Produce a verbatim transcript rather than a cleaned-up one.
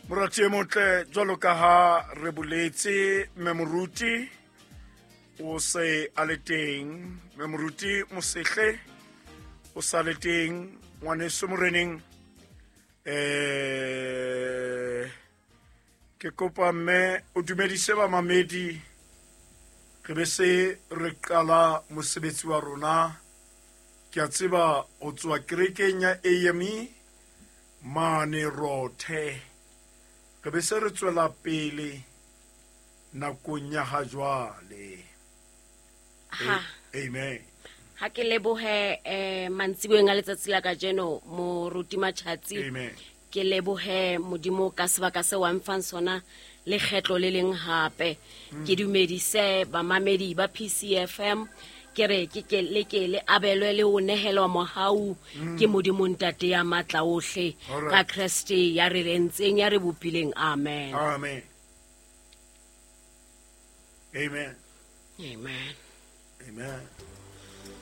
Morati e motle, jwalo ka ha re boletse, mme moruti o se a le teng. Mme moruti Mosehle o sa le teng, ngwaneso moreneng. Eh, ke kopa mme o dumedise bamamedi, re be se re qala mosebetsi wa rona. Ke a tseba o tswa kerekeng ya A M E mane Rothe. Re be se re tswela pele nakong ya ha jwale. Ha. Amen. Ha ke lebohe, eh, mantsiboeng a letsatsi la kajeno, moruti Matjhatsi. Amen. Ke lebohe Modimo ka sebaka seo a mfang sona lekgetlo le leng hape. Mm. Ke dumedise bamamedi ba P C F M. Ke re ke ke le ke le abelwe le ho nehelwa mohau Mm. ke Modimo Ntate ya matla ohle All right. ka Kreste ya re entseng, ya re bopileng. Amen. Amen. Amen. Amen. Amen.